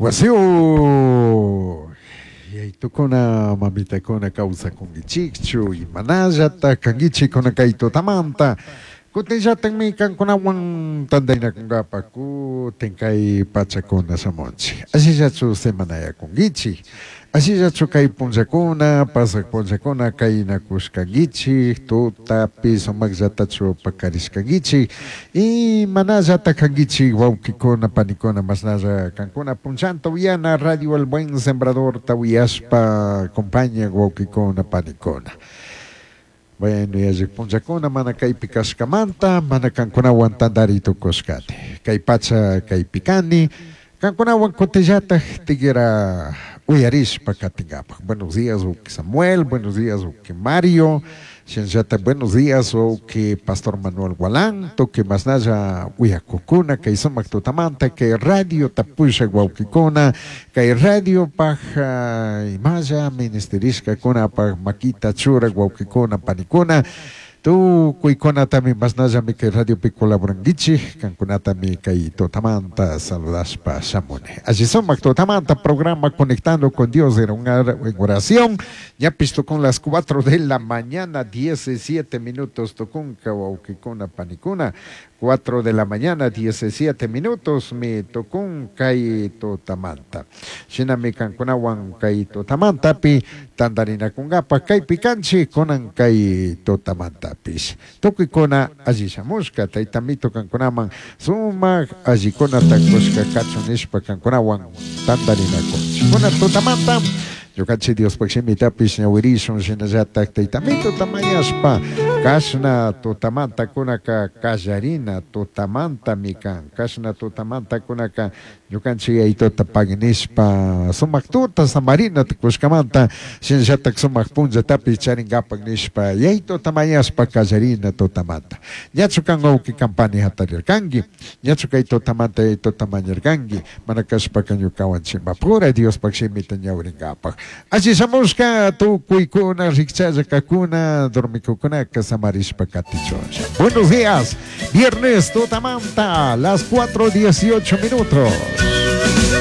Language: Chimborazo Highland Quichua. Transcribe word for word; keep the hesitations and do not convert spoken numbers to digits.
Wasiyuq yaitukuna mamitakuna kawsakunkichikchu imanallata kankichik kunan kay tutamanta kutinllatakmi kankunawan tantaynakunkapak kutin kay pachakuna shamunchik ashillachu semanayakunkichik ashillachu kay punllakuna pasak punllakuna kaynakushkankichik tutapi sumakllatachu pakarishkankichik imanallata kankichik wawkikuna panikuna mashnalla kankuna punllanta uyana Radio El Buen Sembradorta uyashpa compaña wawkikuna panikuna. Bueno, yallik punllakuna mana kaypi kashkamanta mana kankunawan tantari tukushkani kay pacha kaypi kani kankunawan kutillatak tigra uyarishpa katinkapak. Buenos días, wawki Samuel, buenos días, wawki Mario, shinallata buenos días, wawki Pastor Manuel Gualán, tukuy mashnalla uyakukuna kay sumak tutamanta kay radio tapushak wawkikuna kay radiopak imalla ministerishkakunapak makita churak wawkikuna panikuna tukuykunatami mashnallami kay radiopi colaborankichik kankunatami kay tutamanta saludashpa shamuni. Alli sumak tutamanta programa Conectando con Dios era una en oración. Ñapish tukun las cuatro de la mañana, diecisiete minutos tukunka wawkikuna panikuna. cuatro de la mañana, diecisiete minutos, mi tukun kay tutamanta. Shinami kankunawan kay tutamantapi tantarinakunkapa kaypi kanchik kunan kay tutamantapish. Tukuykuna alli shamushka taytamito kankunaman sumak allikunata kushka kachun nishpa kankunawan tantarinakunchik. Kunan tutamanta ñukanchik Diospaj shimitapish ñawirishun shinallatak taytamito tamayashpa kashna tutamanta kunaka kallarina tutamantami kan kashna tutamanta kunaka ñukanchik yayituta pagui nishpa sumak tuta samarina tukushkamanta shinallatak sumak punllatapish charinkapak nishpa yayituta mañashpa kallarina tutamanta. Ñachu kan wawki kampani hatarirkanki ñachu kay tutamanta yayituta mañarkanki mana kashpaka ñukawan chimpapura Diospaj shimita ñawirinkapak. Alli shamushka tukuykuna rikchalla kakuna dormikukunaka samarishpa katichunlla. Buenos días, viernes tutamanta, las cuatro dieciocho minutos.